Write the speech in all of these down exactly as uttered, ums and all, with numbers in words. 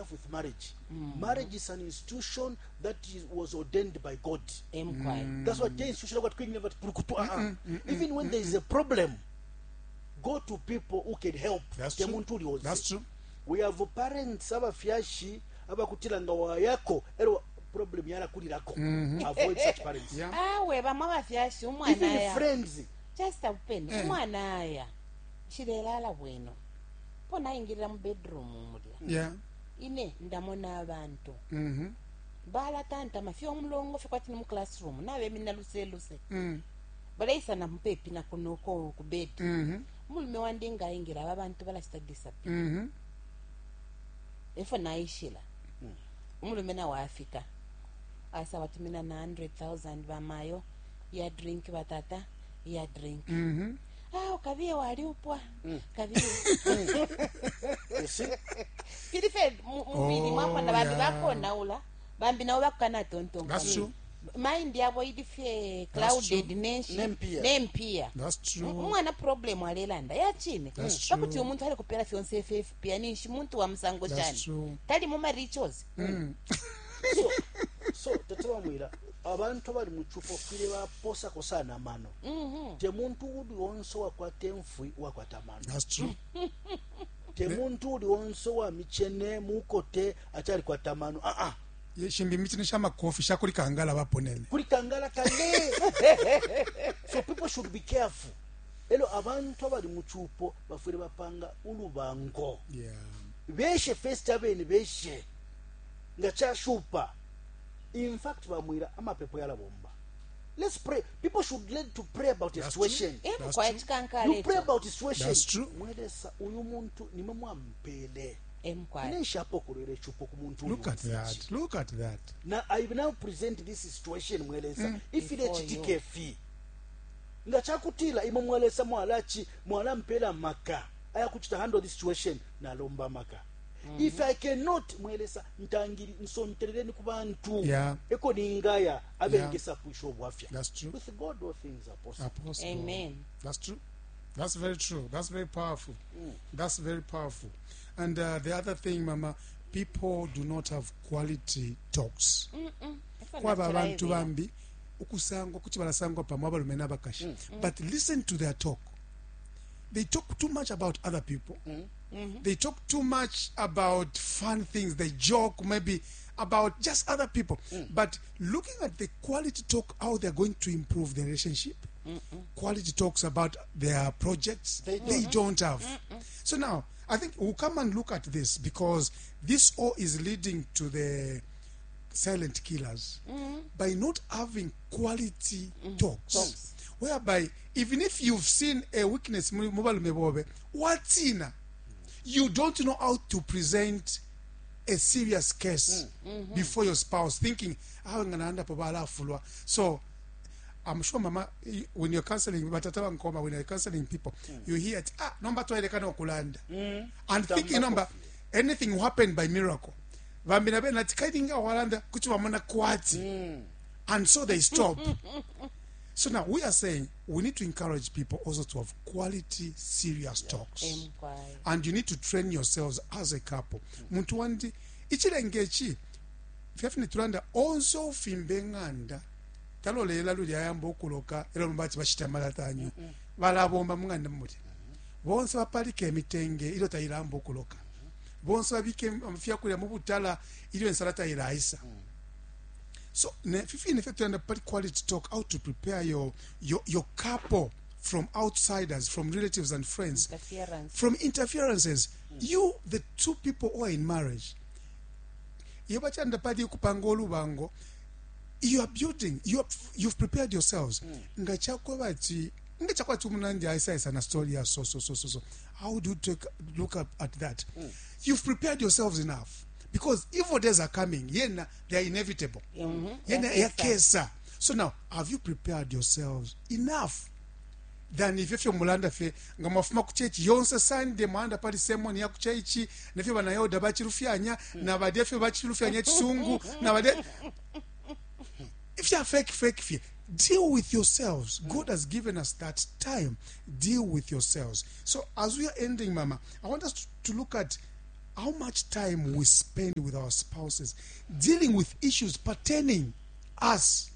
careful with marriage. Marriage is an institution that is, was ordained by God. Emkwai. That's why the institution what quick never purukutu, ah, ah. Even when there is a problem, go to people who can help. That's Te true. muntu uli onse. That's true. We have parents abafyashi abakutila nga wayako ero problem yalakulirako. Avoid such parents. Yeah. Awe bamwe abafyashi umwana Even aya. friends. Just open. Eh. Umwana aya. Nshilelala bwino. Po naingilira mu bedroom mulya. Yeah. Ine ndamona abantu. Mm-hmm. Balatantama fye omulongo fye kwati ni mu classroom nabemina luse luse. Mm. Baleisa na mupepi na kuno ko ku bed. Mm-hmm. Umulume wandi ngaingira aba bantu balashita disappear. Mm-hmm. Efo naishila. Umulume nawe afika. Asa batumina na one hundred thousand bamayo ya drink, batata ya drink. Mm-hmm. Ah, ukabiye waliupwa kabiye. You see? Filife mubili Oh, mwakona bambi yeah. bakonaula bambi nabo bakukanatontonkanya. That's true. Mind yabo ili fye That's clouded true. nenshi Nempiya. nempiya. That's true. Umwana problem alelanda yachine That's true. pakuti umuntu ali kupela fyonse fyefipya ninshi muntu wa musango That's shani true. tali mu rituals. so so tata bamwira abantu abali mu cupo file baposako sana amano. Te muntu uli onse wakwata enfwi wakwata amano. That's true. Te muntu uli onse wa michene mukote achalikwata amano, aa. Ye, shimbi michine sha makofi shakuli kangala baponene. Kuli kangala kale. So people should be careful. Elo abantu abali mu cupo bafwile bapanga ulubango. Yeah. Beshe first, abene beshe nga chashupa. In fact, bamwira amapepo yalabomba. Let's pray. People should learn to pray about a That's situation. true. That's Emkwai true. chikankala. You pray about a situation. That's true. Mwelesa uyu muntu nimwe mwampele. Emkwai. Ine nshapokolera ecupo ku muntu Look uyu. at that. Look at that. Na I now present this situation, mwelesa, mm. If Before ilechitike fi nga chakutila imwe mwalesa mwalachi mwalampela maka ayakuchita handle this situation, nalomba maka mm -hmm. If I cannot, mwelesa ntangiri nsonterereni ku bantu Yeah. eko ningaya abengesa pwisha obwafya. That's true. With God all things are possible. Are possible. Amen. That's true. That's very true. That's very powerful. That's very powerful. And uh, the other thing, Mama, people do not have quality talks. Kwaba abantu bambi ukusangwa kuti balasangwa pamwe abalume n'abakashi, but listen to their talk. They talk too much about other people. They talk too much about fun things. They joke maybe about just other people, but looking at the quality talk, how they're going to improve their relationship, quality talks about their projects, They they don't have. So now I think we'll come and look at this, because this all is leading to the silent killers by not having quality talks, Talks. Whereby even if you've seen a weakness mu mu balume bobe watina, you don't know how to present a serious case before your spouse, thinking awe nganaandapo balafulwa. So I'm sure, Mama, you- when you're counseling batata bankoma, when you're counseling people, you hear it, ah, nomba twailekana okulanda and thinking nomba anything will happen by miracle. Bambi nabe nati kairinga walanda kuti bamona kwati, and so they stop. So now we are saying we need to encourage people also to have quality serious talks. Emkwai. And you need to train yourselves as a couple. Muntu wandi ichilenge ichi fyafine tulanda onse ufimbe ng'anda talolela luli ayamba okuloka era lumba bashita malatanyu balabomba mung'anda mumuti bonse bapalika emitenge ilyo tayilamba okuloka bonse babike fyakulya mu butala ilyo ensala tayilayisa. So ne fifine fye tulanda pali quality talk, how to prepare your, your, your couple from outsiders, from relatives and friends, Interference. From interferences. You, the two people who are in marriage, iyo bachanda pali kupanga olubango, you are building, you are, you've prepared yourselves nga chakwaba ti nga chakwati umunandi aisa na story ya so so so so so how do you take look up at that? You've prepared yourselves enough, because evil days are coming, yena they are inevitable. Mhm. Yena Yakesa. Yakesa. So now, have you prepared yourselves enough than ifyo fyo mulanda fye nga mwafuma ku church yonse Sunday mwanda pali sermon ya ku church nefyo banayoda bachilufyanya na badya fyo bachilufyanya chisungu na badya if you are fake fake fye. Deal with yourselves. God has given us that time. Deal with yourselves. So as we are ending, Mama, I want us to, to look at How much time we spend with our spouses dealing with issues pertaining us,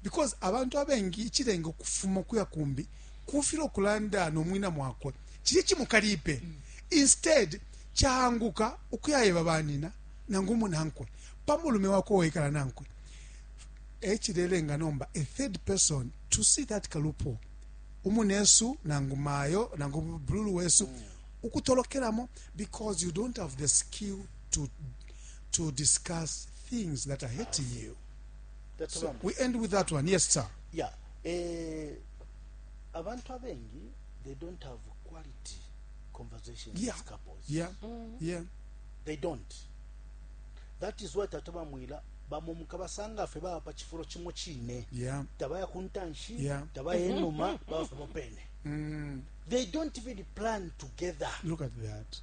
because abantu abengi ichilenga ukufuma kuya kumbi kufila okulanda nomwina mwakwe chili chimukalipe. Instead chaanguka ukuyayeba banina nangu munankwe pamulume wako wekala nankwe echilelenga nomba a third person to see that kalupo umunesu nangu mayo nangu bululu wesu mm. ukutolokeramo because you don't have the skill to to discuss things that are hurting you. That's So one. we end with that one. Yes, sir. Yeah, eh, abantu abengi, they don't have quality conversations Yeah. with couples. Yeah. Yeah. They don't. That is why tata bamwila bamomuka basanga ffe baba pa chifulo chimo chine. Yeah. Tabaya kuntanshi, Yeah. tabaya enuma, baba ffe bopene. Mm. They don't even plan together. Look at that.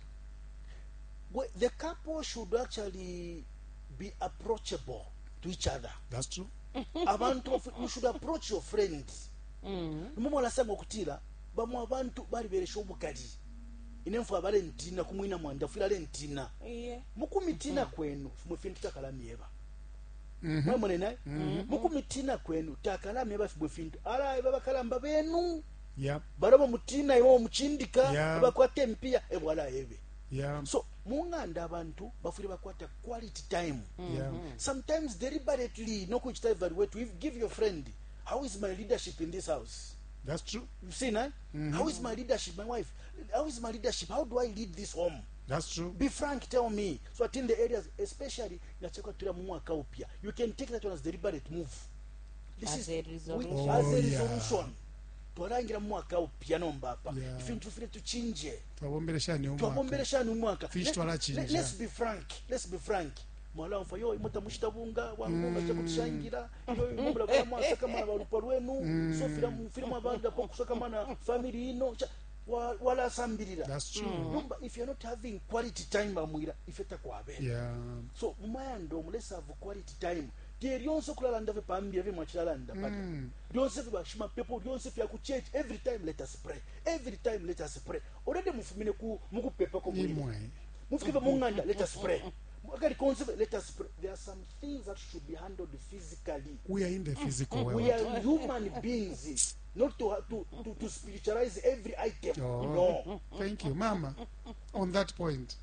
We- the couple should actually be approachable to each other. That's true. Abantu of- you should approach your friends. Nimwe mwalasanga okutira bamwe abantu baliberesha obukali ine nfu abalentina kumwina mwanda fwira alentina Iye. mukumitina kwenu fumwe fintu takalamyeba mwemone naye mukumitina kwenu takalamyeba fumwe fintu alaeba bakalamba benu Yeah. balaba mutina iwe omuchindika Yeah. bakwata empiya ebwalaebe. Yeah. So munganda abantu bafwire bakwata quality time. Yeah. Sometimes deliberately nokuchita evaluate, if give your friend, "How is my leadership in this house?" That's true. You've seen, eh? How is my leadership, my wife? How is my leadership? How do I lead this home? That's true. Be frank, tell me. So at in the areas, especially ngachekwa tula mu mwaka upya, you can take that one as deliberate move. This As is a resolution. we- as Oh, a yeah. resolution. Twalangira mu mwaka upya nomba apa Yeah. ifintu file tuchinje. Twabombeleshani umwaka. Twabombeleshani umwaka. Fish Let- twalachinja. let- let's be frank, let's be frank. Mwala mfa yo imuta mushita bunga wangunga mm. chakutishangira yo imubula kwa mwasakamana balupwa lwenu mm. so fila mfila mwabanda po kusakamana family ino cha, wa, wala sambirira. That's true. Numba if you're not having quality time bamwira ife takwabera. Yeah. So mumayando let's have quality time. Tie lyonse okulalanda fye pambira fye mwachilalanda pata lyonse fye bashima pepo lyonse fye ku church. Every time let us pray, every time let us pray. Already mufumine ku mukupepa ko mwira Imwe. mufike munganda, let us pray. Akali konse, let us pray. There are some things that should be handled physically. We are in the physical world. We are human beings, not to to to, to spiritualize every item. Oh. No. Thank you, Mama. On that point.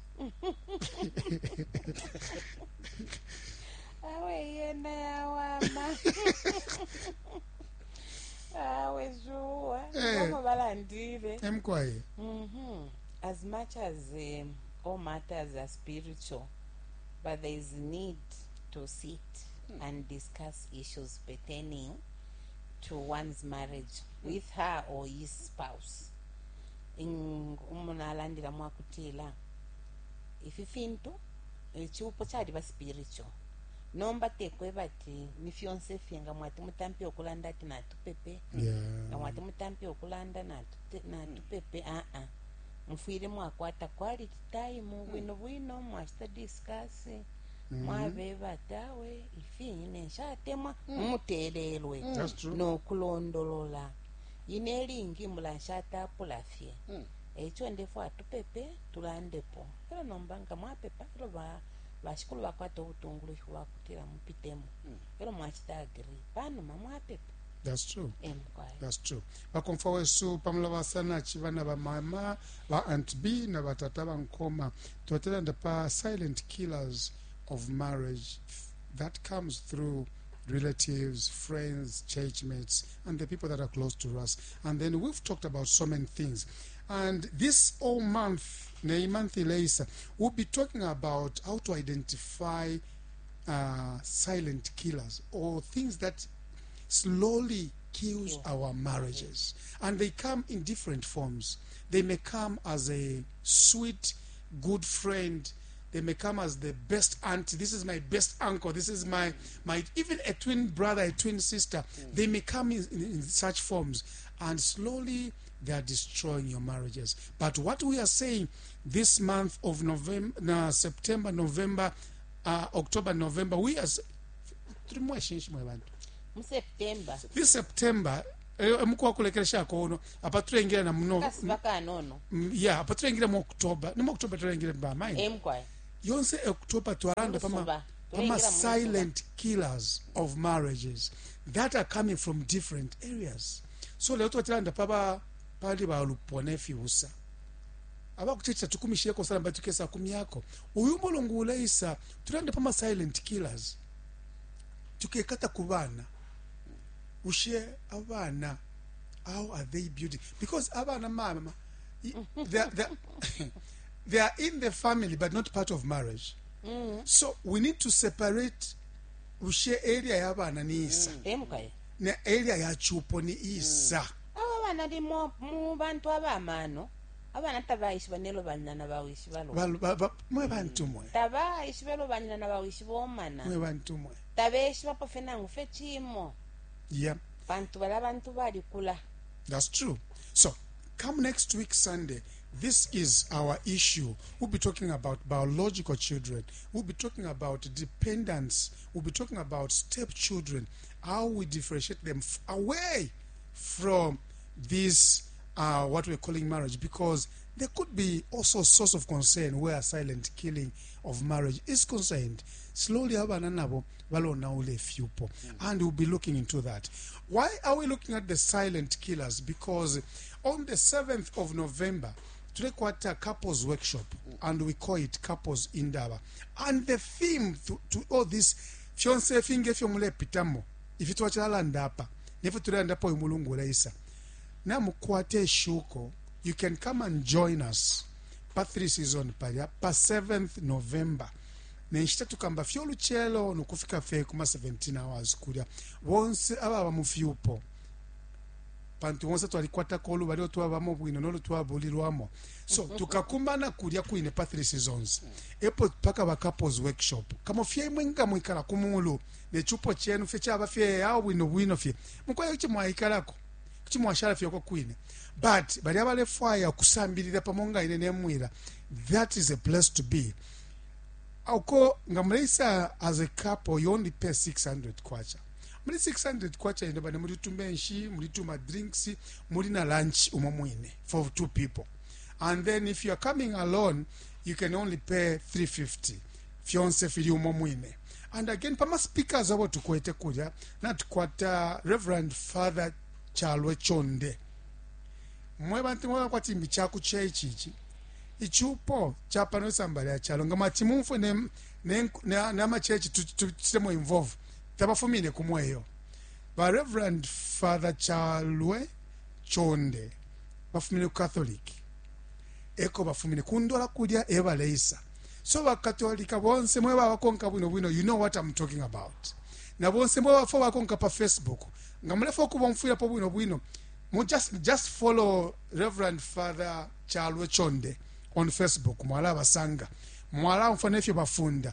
Awe yena yawama awe shuwa. Eh. Ngoba balandile. Emkwaye. Mhm. As much as um, all matters are spiritual, but there is need to sit and discuss issues pertaining to one's marriage with her or his spouse. In- umuntu alandila mwakutila ifi fintu ichiupo chaliba spiritual nomba tekwe bati ni fyonse fye nga mwati mutampi okulanda ati natupepe Yeah. nga mwati mutampi okulanda natute- natupepe aa mufwire mwakwata quality time bwino bwino mwachita discuss mwabeba ati awe ifi ine nshatemwa mumutelelwe That's true. nokulondolola ine elingi mulanshatapula fye echo ndefo atupepe tulandepo elo nomba nga mwapepa elo ba bashikulu bakwata obutungulushi bwakutila mupitemo elo mwachita agree panuma mwapepa. That's true. Emukwayo. That's true. Bakomfa wesu pamula basanachi bana ba mama ba Aunt B na batata bankoma twatelanda pa silent killers of marriage that comes through relatives, friends, churchmates, and the people that are close to us. And then we've talked about so many things. And this whole month, nei month later, we'll be talking about how to identify uh, silent killers or things that slowly kills our marriages. And they come in different forms. They may come as a sweet, good friend. They may come as the best auntie. This is my best uncle. This is my, my even a twin brother, a twin sister. They may come in, in, in such forms. And slowly they are destroying your marriages. But what we are saying this month of November, uh, September, November, uh, October, November, we are... s- Three more shinshi mwe bantu. Mu September. This September, Emuku wakulekeleshako uno apa tulengila na muno Kasuba kanono. Mm, yeah, apa tulengila mu October, ni mu October tulengile bamaini. Emkwai. Yonse October twalanda pama Mulusuba. pama Tulengila mulusuba. silent killers of marriages that are coming from different areas. So leo twachilanda paba pali balupwa nefibusa abakuchichita tukumisheko sana batukesa kumyako uyu mulungu uleisa tulande pama silent killers tukekata ku bana ushe abana, how are they building? Because abana mama they are, they are, they are in the family but not part of marriage. So we need to separate ushe area ya bana ni isa Emkwai. Ne area ya chupo ni isa. Aba bana limo mu bantu abamano abana tabaishiba nelo banyina na bawishi balo. Ba- ba- ba- mwe bantu mwe Tabaishiba lo banyina na bawishi bomana. Mwe bantu mwe Tabeshiba pafe nangu fe chimo. Yeah. Bantu bala bantu balikula. That's true. So come next week Sunday, this is our issue. We'll be talking about biological children. We'll be talking about dependents. We'll be talking about stepchildren, how we differentiate them f- away from this, uh, what we're calling marriage, because there could be also a source of concern where silent killing of marriage is concerned. Slowly, abana nabo balona ule fyupo, and we'll be looking into that. Why are we looking at the silent killers? Because on the seventh of November, tulekwata couples workshop, and we call it Couples Indaba. And the theme to, to all this, fyonse finge fyo mulepitamo, ifi twachalanda apa, nefyo tulandapo uyu mulungu uleisa. Namukwate eshuko, you can come and join us pa three season palya pa seventh November. Nenshita tukamba fyo oluchelo nokufika fe kuma seventeen hours kulya bonse ababa mu fyupo pantu bonse twalikwatako olubali otwabamo bwino nolutwabulirwamo. So tukakumbana kulya kwine pa three seasons epo paka ba couples workshop kamo fye imwe nga mwikala ku mulu nechupo chenu fye chaba fye awo bwino bwino fye mukwaye kuchi mwaikalako kuchi mwashala fye kwine, but bali abalefwaya kusambirira pamo nga ine nemwira, that is a place to be. Uko nga muleisa as a couple you only pay six hundred kwacha. Muli six hundred kwacha ino bane muli tumenshi, muli tuma drinks, muli na lunch umo mwine for two people. And then if you are coming alone you can only pay three fifty. Fyonse fili umo mwine. And again pama speakers abo tukwete kulya na tukwata Reverend Father Chalwe Chonde. Mwe bantu mwe kwati mbicha ku church ichi. Ichupo chapano sambali ya chalo nga mati mumfwe ne ne ne nama church tutemo involve tabafumine kumweyo. Ba Reverend Father Chalwe Chonde bafumine ku Catholic eko bafumine kundola kulya ebaleisa. So ba Catholic bonse mwe babakonka bwino bwino, you know what I'm talking about. Na bonse mwe bafo bakonka pa Facebook nga mulefo kubomfwira po bwino bwino, mu just, just follow Reverend Father Chalwe Chonde on Facebook. Mwala basanga mwala mfana ifyo bafunda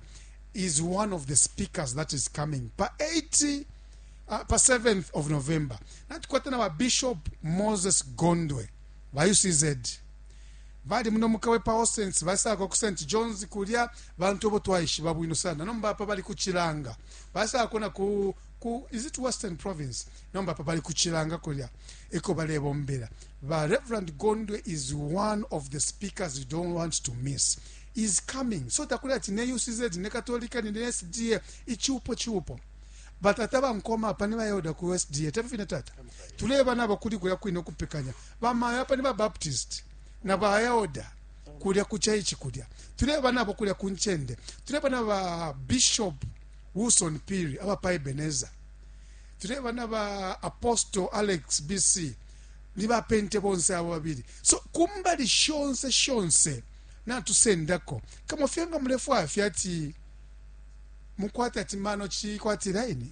is one of the speakers that is coming pa eight, uh, pa seventh of November. Natukwata na ba Bishop Moses Gondwe ba U C Z bali muno mukawe pa Austin basako ku Saint John's kulya bantu bo twaishiba bwino sana nomba apa bali kuchilanga basako na ku, ku is it Western Province nomba apa bali kuchilanga kulya eko balebombera. Ba Reverend Gondwe is one of the speakers you don't want to miss. Is coming. So takula ati ne U C Z ne Katolika ne S D A ichupo chupo. But ataba nkoma apa ne bayoda ku S D A tafina tata. Tuleba nabo kuli kulya kwino kupekanya. Ba mayo apa ne ba Baptist na bayoda kulya kuchaichi kulya. Tuleba nabo kulya kunchende. Tuleba naba Bishop Wilson Piri aba pa Ebenezer. Tuleba naba Apostle Alex B C ni ba pente bonse abo babiri. So kumbali shonse shonse na tusendako kama fyenga mrefu afyati mukwata ati mano chi kwati line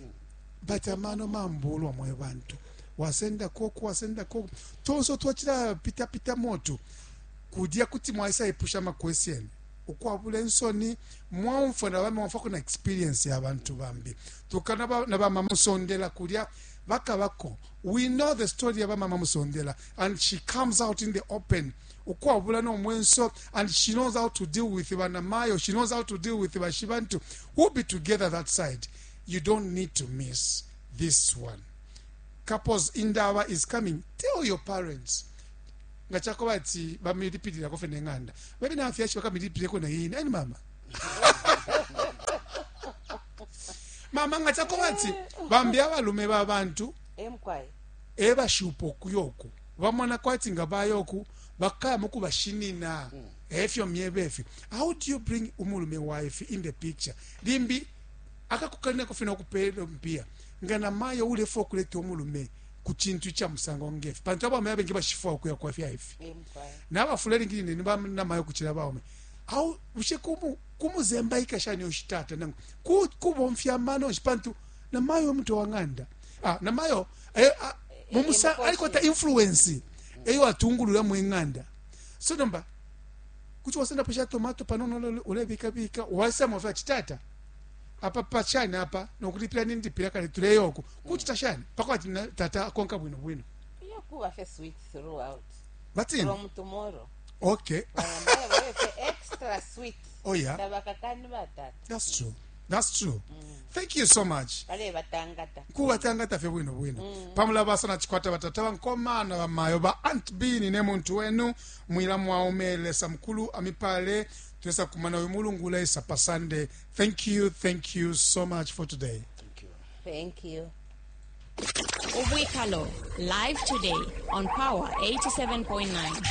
but amano mambulwa mwe bantu wasenda koko wasenda koko tonso twachira pita pita moto kudya kuti mwaisa ipusha ma question ukwabule nsoni mwamfa na bamwe mwamfa kuna experience ya bantu bambi tukana ba, na ba mama musondela kulya bakabako. We know the story ya ba mama musondela and she comes out in the open ukwabula no mwenso and she knows how to deal with banamayo, she knows how to deal with bashibantu. We'll be together that side. You don't need to miss this one. Couples Indaba is coming. Tell your parents. Nga chakuba ati bamilipilirako ffe n'enganda, babi n'abafyashi bakamilipilireko nayini ani mama mama nga chakuba ati bambi abalume b'abantu Emkwai. Ebashupa okuyoku bamona kwati nga bayoku bakaya mukubashinina efyo myebe efi. How do you bring umulume wife in the picture? Limbi akakukalinako fena okupela mpia nga namayo ulefa okuleta omulume ku kintu kya musango ngefi, pantu abaume abengi bashifwa okuya kwa fyaifi Emkwai. N'abafula elingi ni banamayo kuchila baume au bushe kumu kumuzembaika shani oshitata nangu ku kubomfya amano nshi, pantu namayo omuntu wa ng'anda, ah, namayo eh, ah, mumusa eh, alikwata influence eyo atungulula mu ng'anda. So nomba kuti wasendapo sha tomato panono, ulebikabika wasama fya chitata apa pachani apa nokulipira nindipira kale tuleyoko kuchita shani pakwati na- tata akonka bwino bwino. Iyo kuba fe sweet throughout. Batini. From tomorrow. Okay. Bayambaye babe fe extra sweet. Oh yeah. Tabakakani batata. That's true, that's true. Thank you so much. Bale batangata. Kubatangata fye bwino bwino pamula basana chikwata batata bankomana bamayo ba Aunt Bini ne muntu wenu mwila mwaume. Lesa mukulu amipale twesa kumana uyu mulungu lesa pa Sunday. Thank you, thank you so much for today. Thank you. Thank you. Ubwikalo, live today on Power eighty-seven point nine.